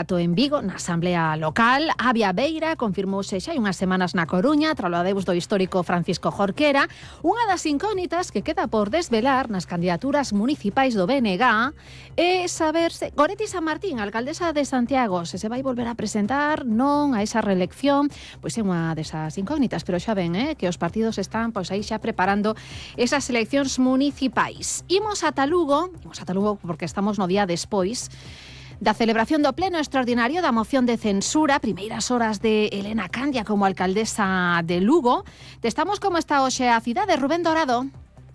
En Vigo, na Asamblea Local, Avia Beira confirmouse xa hai unhas semanas na Coruña, tralo adeus do histórico Francisco Jorquera. Unha das incógnitas que queda por desvelar nas candidaturas municipais do BNG é saber se Goretti Sanmartín, alcaldesa de Santiago, se vai volver a presentar non a esa reelección. Pois é unha desas incógnitas, pero xa ven que os partidos están aí xa preparando esas eleccións municipais. Imos ata Lugo porque estamos no día despois da celebración do pleno extraordinario da moción de censura, primeiras horas de Elena Candia como alcaldesa de Lugo. Testamos como está hoxe a cidade, Rubén Dorado.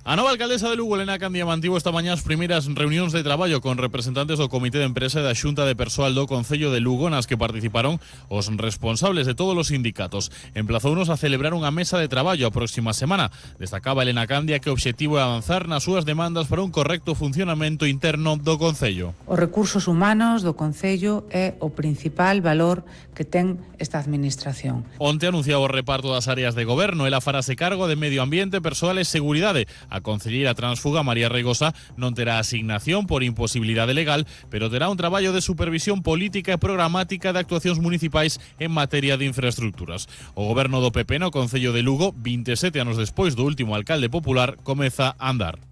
A nova alcaldesa de Lugo, Elena Candia, mantivo esta mañá as primeiras reunións de traballo con representantes do Comité de Empresa e da Xunta de Persoal do Concello de Lugo, nas que participaron os responsables de todos os sindicatos. Emplazounos a celebrar unha mesa de traballo a próxima semana. Destacaba Elena Candia que o obxectivo é avanzar nas súas demandas para un correcto funcionamento interno do Concello. Os recursos humanos do Concello é o principal valor que ten esta administración. Onte anunciaba o reparto das áreas de goberno. Ela farase cargo de Medio Ambiente, Persoal e Seguridade. A concelleira transfuga María Reigosa non terá asignación por imposibilidade legal, pero terá un traballo de supervisión política e programática de actuacións municipais en materia de infraestructuras. O goberno do PP no Concello de Lugo, 27 anos despois do último alcalde popular, comeza a andar.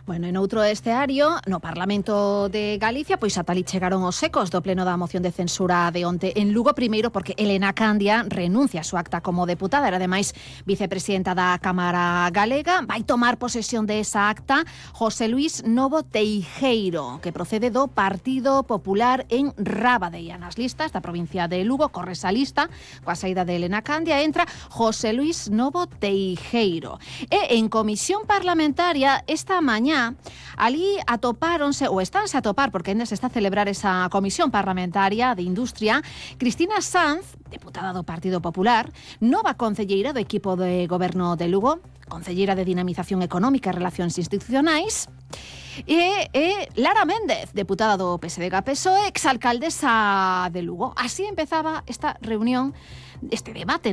Bueno, en outro esteario, no Parlamento de Galicia, pois ata ali chegaron os ecos do pleno da moción de censura de onte en Lugo, primeiro porque Elena Candia renuncia a súa acta como deputada, era ademais vicepresidenta da Cámara Galega. Vai tomar posesión de esa acta José Luis Novo Teijeiro, que procede do Partido Popular en Rábade. Nas listas da provincia de Lugo corre esa lista, coa saída de Elena Candia entra José Luis Novo Teijeiro. E en comisión parlamentaria esta mañá ali atopáronse, ou estánse a topar, porque ainda se está a celebrar esa comisión parlamentaria de Industria, Cristina Sanz, deputada do Partido Popular, nova concelleira do equipo de goberno de Lugo, concelleira de Dinamización Económica e Relacións Institucionais, e Lara Méndez, deputada do PSDG-PSOE, exalcaldesa de Lugo. Así empezaba esta reunión, este debate